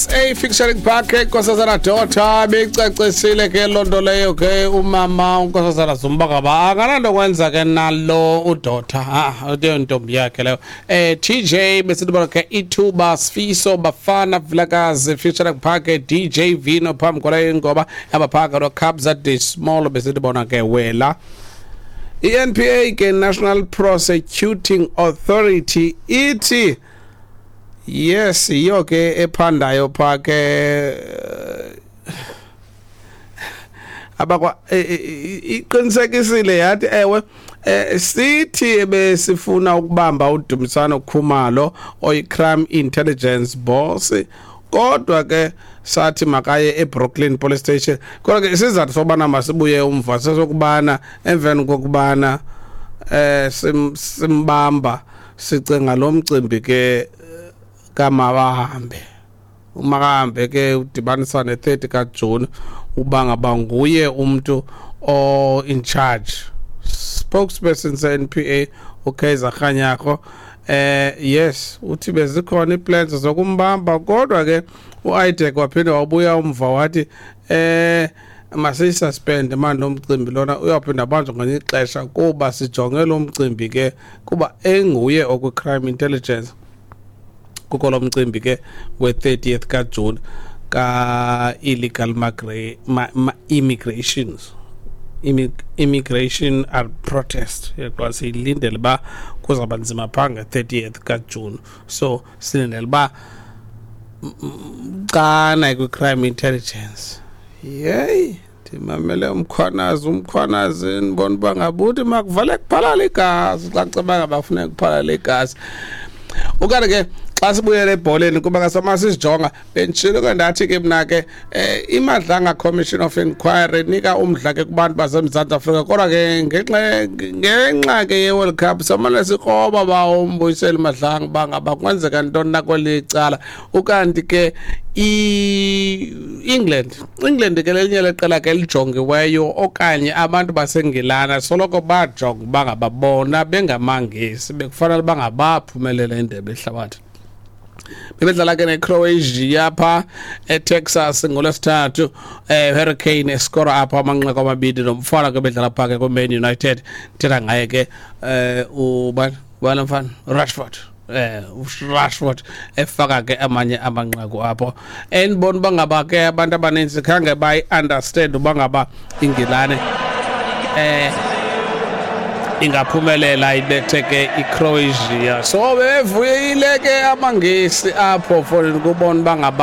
SA featuring Park Nkosazana Daughter becacisile ke loo nto leyo ke umama uNkosazana Zuma ngaba akananto kwenza ke nalo uDaughter, ah, leyo ntombi yakhe leyo. TJ besithi bona ke ithuba Sifiso Bafana Vilakazi featuring Park DJ Vino phambi kwaleyo ingoma abaphaka no Kabza De Small besithi bona ke wela. I-NPA ke, National Prosecuting Authority, ithi yes, yiyo ke ephandayo pha ke abakwa iqinisekisile yathi ewe, sithi besifuna ukubamba uDumisano Khumalo oyi-crime intelligence boss, kodwa ke sathi makaye eBrooklyn Police Station. Kodwa ke isizathu sobana masibuye umva sesokubana emveni kokubana simbamba sicinga lo mcimbi ke kamabahambe umakahambe ke udibanisa ne-30 kaJuni uba ngaba nguye umntu o in charge. Spokesperson se-NPA uKaizer Kganyago yes, uthi bezikhona iplans zokumbamba, kodwa ke uIDAC waphinde wabuya umva wathi masiyisuspend manje lo mcimbi lona, uyaphinda abanjwe ngelinye ixesha kuba sijonge lo mcimbi ke kuba enguye okwi-crime intelligence kukho lo mcimbi ke we-30th kaJuni ka-illegal immigrations immigration are protest yaqwa. Siyilindele uba kuzawuba nzima phaa nge-30th kaJuni, so silindele uba xana kwi-crime intelligence. Yeyi, ndimamele uMkhwanazi, uMkhwanazi ndibona uba ngabuthi makuvale kuphalala igazi xa kuceba ngaba kufuneka kuphalala igazi. Ukanti ke xa sibuyele ebholeni, kuba ngasama sizijonga, benditshilo ke ndathi ke mna ke iMadlanga Commission of Inquiry inika umdla ke kubantu baseMzantsi Afrika, kodwa ke ngenxa ke ye-World Cup samane sikroba ba uMbuyiseli Madlanga uba ngaba kwenzeka ntoni na kweli cala. Ukanti ke i-England, England ke lelinye leqela ke elijongiweyo okanye abantu baseNgilana soloko bajonga uba ngaba bona bengamaNgesi bekufanele uba ngabaphumelela indebe yehlabathi. Bebedlala ke neCroatia pha eTexas ngoLwesithathu, Harry Kane eskora apho amanqaku amabini, nomfana ke bedlala pha ke kwiMan United, thetha ngaye ke ubani ubani mfana, Rashford, Rashford efaka ke amanye amanqaku apho. Endibona uba ngaba ke abantu abaninzi khange bayi-understand uba ngaba iNgilane ingaphumelela ibethe ke iCroatia, so bevuyile ke amaNgesi apho for ukubona uba ngaba